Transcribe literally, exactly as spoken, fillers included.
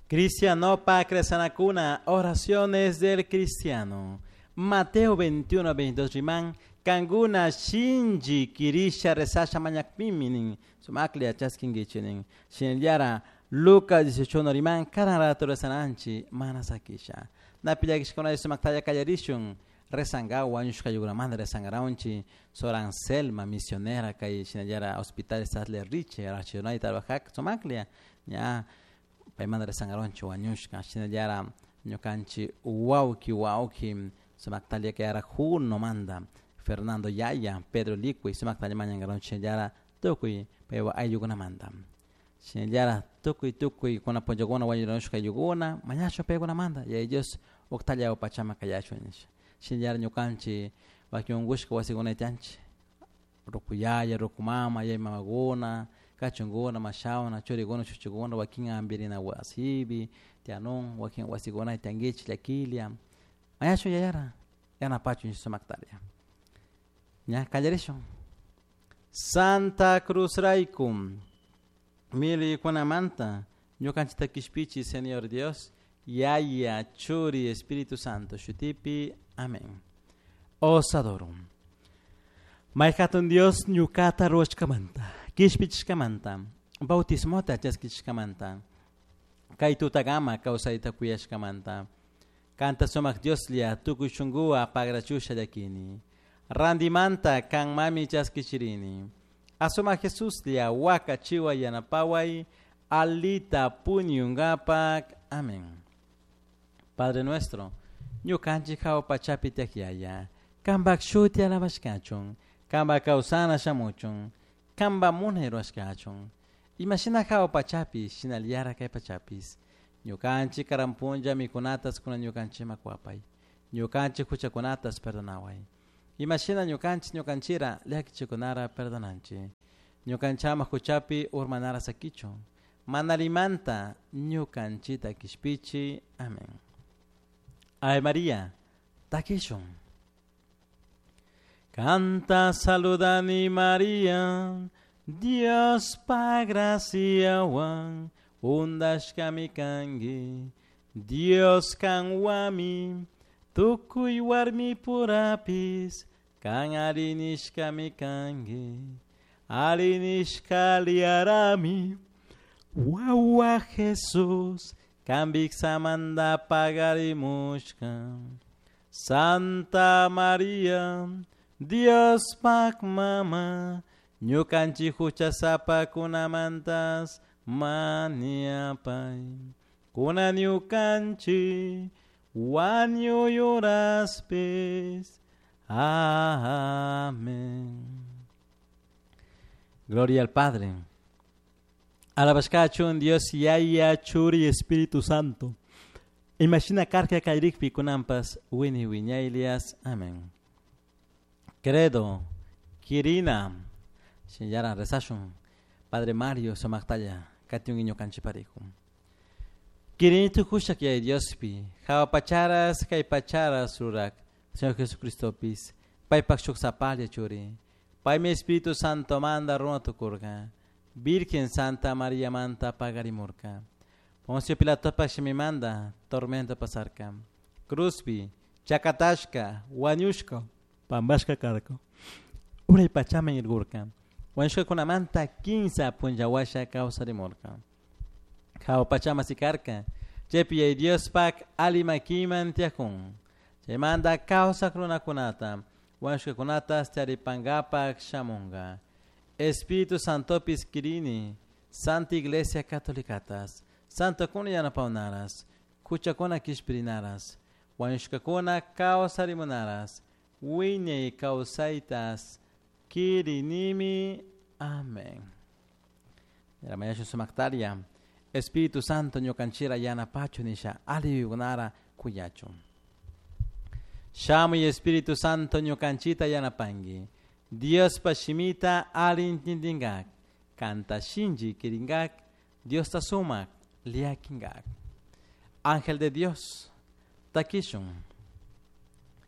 Cristianopa Cresanacuna, oraciones del cristiano. Mateo veintiuno, veintidós riman, kanguna shinji kirisha resasha mañakpiminin, sumaklia chaskingichinin. Shinallara Lucas dieciocho riman, karan rato resananchi, manasakisha. Napillakishkuna sumaktaya kallarishun, rezangawa, wañushkayukunamanta rezangaraunchi, Sor Anselma, misionera, kay shinallara hospital Sadler Riche, arachunay trabajak, sumaklia, ña, paymanta rezangaraunchi wañushka, shinallara ñukanchi wawki wawki, sumaktalia kay Juno manda, Fernando Yaya, Pedro Liqui, sumaktalia mañangaraunchi shinallara tukuy paywa ayllukunamanta. Shinallara tukuy tukuy kuna punllakuna wañushkayukuna, mañashu paykunamanta, y ellos uktalla upachama kayachun nisha. Shinallara ñukanchi wakin unkushka wasikunayta tiyanchik, rukuyaya, rukumama, yay mamakuna, kachunkuna, mashawna, churikuna, chuchukuna, wakin ampirina wasipi, tiyanun, wakin wasikunayta tiyankichik llakilla, mañashun yayara, yanapachun sumaktaria. Ña, kallarishun. Santa Cruz rayku, miliykunamanta, ñukanchikta kishpichi, Señor Dios, Yaya, Churi, Espíritu Santo, shutipi, amén. Os adoro. Mayhatun Dios ñukata ruwashkamanta, kishpichishkamanta, bautismota chaskishkamanta, kay tutagama kawsayta kuyashkamanta, kanta sumak Dioslla tukuy shunkuwa pagrachusha llakini, randimanta kan mami chaskichirini, asuma Jesuslla waka chiwa yanapaway, alita puñungapak, amén. Padre nuestro, ñukanchik hawa pachapi tiyak yaya, kanpak shuti alabashkachun, kanpak kawsana shamuchun, kanpak munay rurashkachun, imashina hawa pachapi, shinallara kay pachapis, ñukanchik karan punlla mikunatas kunan ñukanchikman kuwapay, ñukanchik huchakunatas perdonaway, imashina ñukanchik ñukanchira llakichikunara perdonanchik, ñukanchama huchapi urmanara sakichun, manalimanta ñukanchita kishpichi, amén. Ave María, takishun. Canta saludani María, Dios pa graciawan, undashkami kangi, Dios kanwami, tukuy warmi purapis, kan arinishkami kangi, arinishka liarami, wawa Jesús, kambik samanda pagarimushka. Santa María, Dios pak mama, ñukanchik huchasapakunamantas maniapay, kuna ñukanchik wañuyuraspis. Amén. Gloria al Padre. Alabashkachun Dios Yaya, Churi, Espíritu Santo. Imagina karka kayrikpi kunampas wini wiñaylias. Amén. Credo, Kirina, Shinyaran rezashun, Padre Mario sumaktalla, katiun iñukanchipariku. Kirini tukushak yay Diospi, hawa pacharas kay pacharas rurak, Señor Jesucristopis, paypak shuk sapalla churi, paymi Espíritu Santo manda runa tukurka, Virgen Santa María manta pagarimurka, Poncio Pilatopak shimimanda tormento pasarka, Cruzpi, chakatashka, wañushka, pambashka karka, uray pachaman irgurka, wañushkakunamanta kinsa punllawasha kawsarimurka, hawa pachama sikarka, chaypi yay Diospak alimakiman tiyakun, chaymanta kawsak runakunata, wañushkakunata charipankapak shamunka, Espíritu Santopis kirini, Santa Iglesia Catolicatas, Santokuna yanapawnaras, huchakuna kishpirinaras, wañushkakuna kawsarimunaras, wiñay kawsaytas kirinimi. Amén. Mañashu sumaktaria, Espíritu Santo ñukanchira yanapachu nisha aliyukunara kuyachun. Shamuy Espíritu Santo ñukanchita yanapanki, Diospa shimita alintindingak, kanta shinchi kiringak, Diosta sumak liakingak. Ángel de Dios, takishun.